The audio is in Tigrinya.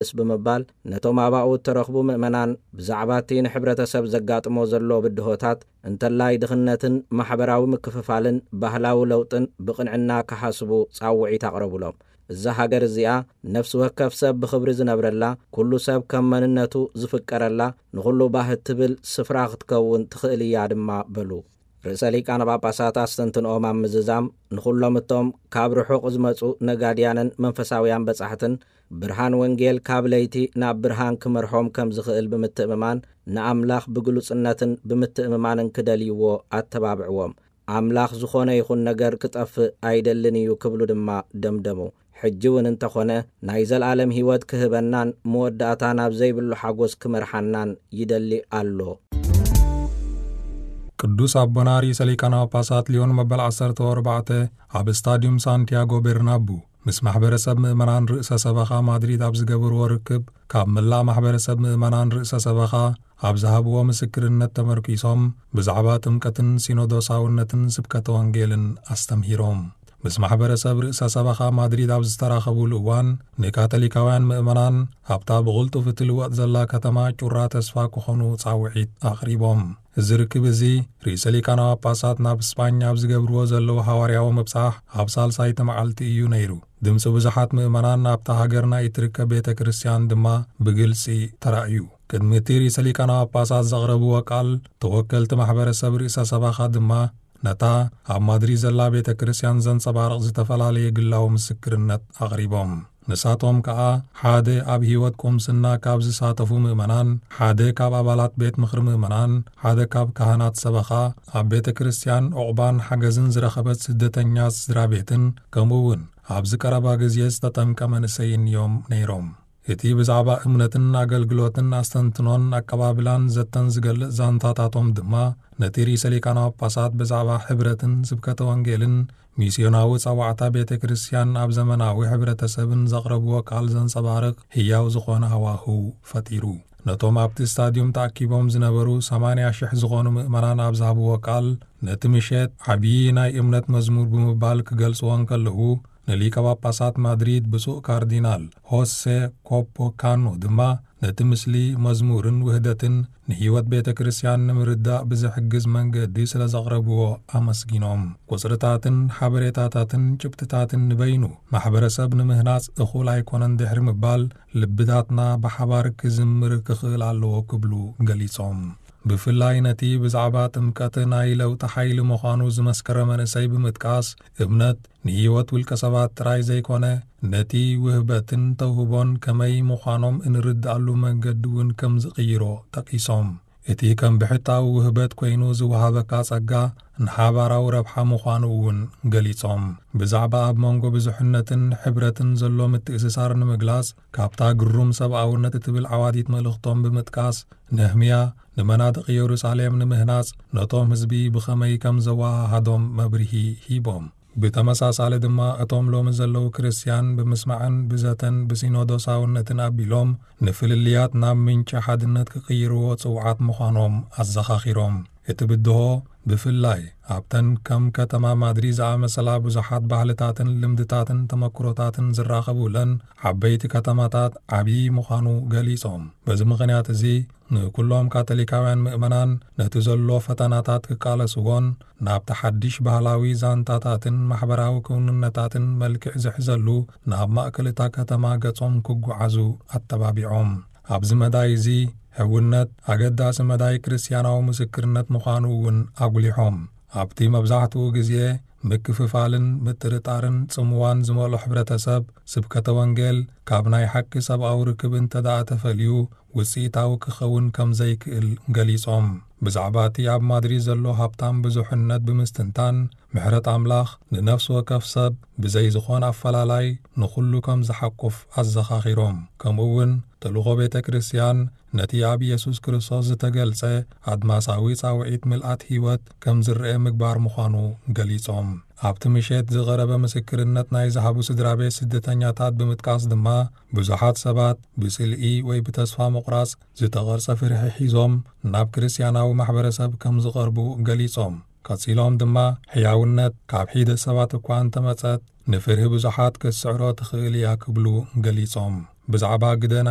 ይመልስ ብምባል፣ ነቶም ኣባኡ እተረኽቡ ምእመናን ብዛዕባ እቲ ንሕብረተሰብ ዘጋጥሞ ዘሎ ብድሆታት፣ እንተላይ ድኽነትን ማሕበራዊ ምክፍፋልን ባህላዊ ለውጥን ብቕንዕና ክሓስቡ ጻውዒት ኣቕረቡሎም። እዛ ሃገር እዚኣ ነፍሲ ወከፍ ሰብ ብኽብሪ ዝነብረላ፣ ኩሉ ሰብ ከም መንነቱ ዝፍቀረላ፣ ንኹሉ ባህ እትብል ስፍራ ክትከውን ትኽእል እያ ድማ በሉ። ርእሰ ሊቃነ ጳጳሳት ኣስተንትንኦም ኣብ ምዝዛም፣ ንኹሎም እቶም ካብ ርሑቕ ዝመጹ ነጋድያንን መንፈሳውያን በጻሕትን፣ ብርሃን ወንጌል ካብ ለይቲ ናብ ብርሃን ክመርሖም ከም ዝኽእል ብምትእምማን፣ ንኣምላኽ ብግሉጽነትን ብምትእምማንን ክደልይዎ ኣተባብዕዎም። ኣምላኽ ዝኾነ ይኹን ነገር ክጠፍእ ኣይደልን እዩ ክብሉ ድማ ደምደሙ። ሕጂ እውን እንተኾነ ናይ ዘለኣለም ህይወት ክህበናን መወዳእታ ናብ ዘይብሉ ሓጎስ ክመርሓናን ይደሊ ኣሎ። ቅዱስ ኣቦና ርእሰ ሊቃነ ጳጳሳት ሊዮን መበል ዓሰርተ ኣርባዕተ ኣብ ስታዲዩም ሳንቲያጎ ቤርናቡ ምስ ማሕበረሰብ ምእመናን ርእሰ ሰበኻ ማድሪድ ኣብ ዝገበርዎ ርክብ፣ ካብ መላእ ማሕበረሰብ ምእመናን ርእሰ ሰበኻ ኣብ ዝሃብዎ ምስክርነት ተመርኪሶም ብዛዕባ ጥምቀትን ሲኖዶሳውነትን ስብከተ ወንጌልን ኣስተምሂሮም። ምስ ማሕበረሰብ ርእሰ ሰበኻ ማድሪድ ኣብ ዝተራኸቡሉ እዋን፣ ንካቶሊካውያን ምእመናን ኣብታ ብቕልጡፍ እትልወጥ ዘላ ከተማ ጩራ ተስፋ ክኾኑ ጻውዒት ኣቕሪቦም። እዚ ርክብ እዚ ርእሰ ሊቃነ ጳጳሳት ናብ ስጳኛ ኣብ ዝገብርዎ ዘለዉ ሃዋርያዊ ምብጻሕ ኣብ ሳልሳይቲ መዓልቲ እዩ ነይሩ። ድምፂ ብዙሓት ምእመናን ኣብታ ሃገርና እትርከብ ቤተ ክርስቲያን ድማ ብግልፂ ተራእዩ። ቅድሚ እቲ ርእሰ ሊቃነ ጳጳሳት ዘቕረብዎ ቃል፣ ተወከልቲ ማሕበረሰብ ርእሰ ሰበኻ ድማ ነታ ኣብ ማድሪድ ዘላ ቤተ ክርስቲያን ዘንጸባርቕ ዝተፈላለየ ግላዊ ምስክርነት ኣቕሪቦም። ንሳቶም ከኣ ሓደ ኣብ ህይወት ቁምስና ካብ ዝሳተፉ ምእመናን፣ ሓደ ካብ ኣባላት ቤት ምኽሪ ምእመናን፣ ሓደ ካብ ካህናት ሰበኻ፣ ኣብ ቤተ ክርስቲያን ዑቕባን ሓገዝን ዝረኸበት ስደተኛ ስድራ ቤትን፣ ከምኡ እውን ኣብዚ ቀረባ ግዜ ዝተጠምቀ መንእሰይን እዮም ነይሮም። እቲ ብዛዕባ እምነትን ኣገልግሎትን ኣስተንትኖን ኣቀባብላን ዘተን ዝገልጽ ዛንታታቶም ድማ፣ ነቲ ርእሰ ሊቃነ ጳጳሳት ብዛዕባ ሕብረትን ስብከተ ወንጌልን ሚስዮናዊ ጸዋዕታ ቤተ ክርስቲያን ኣብ ዘመናዊ ሕብረተሰብን ዘቕረብዎ ቃል ዘንጸባርቕ ህያው ዝኾነ ሃዋህው ፈጢሩ። ነቶም ኣብቲ ስታድዩም ተኣኪቦም ዝነበሩ ሰማንያ ሽሕ ዝኾኑ ምእመናን ኣብ ዝሃብዎ ቃል፣ ነቲ ምሸት ዓብዪ ናይ እምነት መዝሙር ብምባል ክገልጽዎ እንከለዉ፣ ንሊቀ ጳጳሳት ማድሪድ ብፁዕ ካርዲናል ሆሴ ኮፖ ካኖ ድማ ነቲ ምስሊ መዝሙርን ውህደትን ንህይወት ቤተ ክርስቲያን ንምርዳእ ብዝሕግዝ መንገዲ ስለ ዘቕረብዎ ኣመስጊኖም። ቁጽርታትን ሓበሬታታትን ጭብጥታትን ንበይኑ ማሕበረሰብ ንምህናጽ እኹል ኣይኮነን ድሕሪ ምባል፣ ልብታትና ብሓባር ክዝምር ክኽእል ኣለዎ ክብሉ ገሊጾም። ብፍላይ ነቲ ብዛዕባ ጥምቀት ናይ ለውጢ ሓይሊ ምዃኑ ዝመስከረ መንእሰይ ብምጥቃስ፣ እምነት ንህይወት ውልቀ ሰባት ጥራይ ዘይኮነ፣ ነቲ ውህበትን ተውህቦን ከመይ ምዃኖም እንርድኣሉ መንገዲ እውን ከም ዝቕይሮ ጠቒሶም። እቲ ከም ብሕታዊ ውህበት ኮይኑ ዝወሃበካ ጸጋ ንሓባራዊ ረብሓ ምዃኑ እውን ገሊጾም። ብዛዕባ ኣብ መንጎ ብዙሕነትን ሕብረትን ዘሎ ምትእስሳር ንምግላጽ፣ ካብታ ግሩም ሰብኣውነት እትብል ዓዋዲት መልእኽቶም ብምጥቃስ፣ ነህምያ ንመናድቕ የሩሳሌም ንምህናጽ ነቶም ህዝቢ ብኸመይ ከም ዘወሃሃዶም መብርሂ ሂቦም። ብተመሳሳሊ ድማ፣ እቶም ሎሚ ዘለዉ ክርስትያን ብምስማዕን ብዘተን ብሲኖዶሳውነትን ኣቢሎም፣ ንፍልልያት ናብ ምንጪ ሓድነት ክቕይርዎ ጽውዓት ምዃኖም ኣዘኻኺሮም። እቲ ብድሆ፣ ብፍላይ ኣብተን ከም ከተማ ማድሪድ ዝኣመሰላ ብዙሓት ባህልታትን ልምድታትን ተመክሮታትን ዝራኸቡለን ዓበይቲ ከተማታት፣ ዓብዪ ምዃኑ ገሊጾም። በዚ ምኽንያት እዚ፣ ንኩሎም ካቶሊካውያን ምእመናን፣ ነቲ ዘሎ ፈተናታት ክቃለስዎን ናብቲ ሓድሽ ባህላዊ ዛንታታትን ማሕበራዊ ክውንነታትን መልክዕ ዝሕዘሉ ናብ ማእከል እታ ከተማ ገጾም ክጓዓዙ ኣተባቢዖም። ኣብዚ መዳይ እዚ፣ ሕውነት ኣገዳሲ መዳይ ክርስትያናዊ ምስክርነት ምዃኑ እውን ኣጉሊሖም። ኣብቲ መብዛሕትኡ ግዜ ምክፍፋልን ምጥርጣርን ጽምዋን ዝመልኦ ሕብረተሰብ፣ ስብከተ ወንጌል ካብ ናይ ሓቂ ሰብኣዊ ርክብ እንተ ደኣ ተፈልዩ፣ ውጽኢታዊ ክኸውን ከም ዘይክእል ገሊጾም። ብዛዕባ እቲ ኣብ ማድሪድ ዘሎ ሃብታም ብዙሕነት ብምስትንታን፣ ምሕረት ኣምላኽ ንነፍሲ ወከፍ ሰብ ብዘይ ዝኾን ኣፈላላይ ንኹሉ ከም ዝሓቁፍ ኣዘኻኺሮም። ከምኡ እውን ተልእኾ ቤተ ክርስቲያን ነቲ ኣብ ኢየሱስ ክርስቶስ ዝተገልጸ ኣድማሳዊ ጻውዒት ምልኣት ህይወት ከም ዝረአ ምግባር ምዃኑ ገሊጾም። ኣብቲ ምሸት ዝቐረበ ምስክርነት ናይ ዝሃቡ ስድራ ቤት ስደተኛታት ብምጥቃስ ድማ፣ ብዙሓት ሰባት ብጽልኢ ወይ ብተስፋ ምቑራጽ ዝተቐርጸ ፍርሒ ሒዞም ናብ ክርስትያናዊ ማሕበረሰብ ከም ዝቐርቡ ገሊጾም። ቀጺሎም ድማ፣ ሕያውነት ካብ ሒደት ሰባት እኳ እንተመጸት፣ ንፍርሂ ብዙሓት ክትስዕሮ ትኽእል እያ ክብሉ ገሊጾም። ብዛዕባ ግደ ናይ